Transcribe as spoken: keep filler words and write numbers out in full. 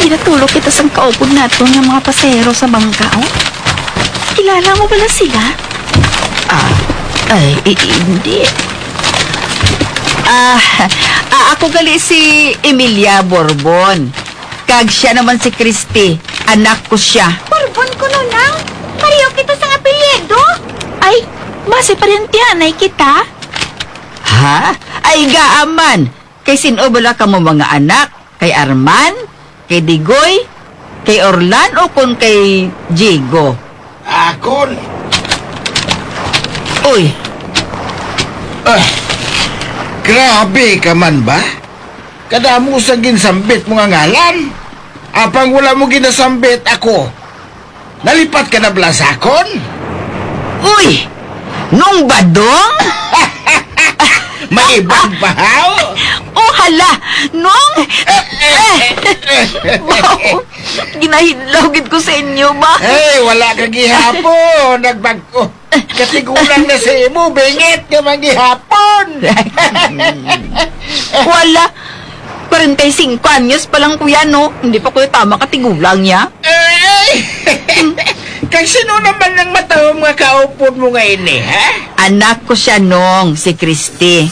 Natulog kita sang kaupod naton nga mga pasahero sa bangka, oh. Kilala mo bala sila? Ah, ay, i- hindi. Ah, ah, ako gali si Emilia Borbon. Kag siya naman si Christy. Anak ko siya. Borbon kuno, Nang. Pareho kita sang apelyido. Ay, basi parentihanay kita? Ha? Ay, gaaman. Kay sin-o bala kamo mga anak? Kay Arman? Kay Digoy? Kay Orlan o kon kay Jigo? Akon. Uy. Ah, grabe ka man ba? Kadamo sa ginsambit mo nga ngalan. Apang wala mo ginasambit ako. Nalipat ka na bala sa akon? Uy! Nung Badong? May iban pa, haw? Oh, hala! Nung... Wow! Ginahidlaw gid ko sa inyo ba? Hey, wala ka gihapon. Nagbag-o. Katigulang na sa imo, bingit ka man gihapon. Wala. Kwarenta y singko anyos pa lang, kuya, no? Hindi pa, kuya, tama katigulang niya. Ay! Kag sino naman ang matawag nga kaupod mo nga ini, ha? Anak ko siya, Nong, si Christy.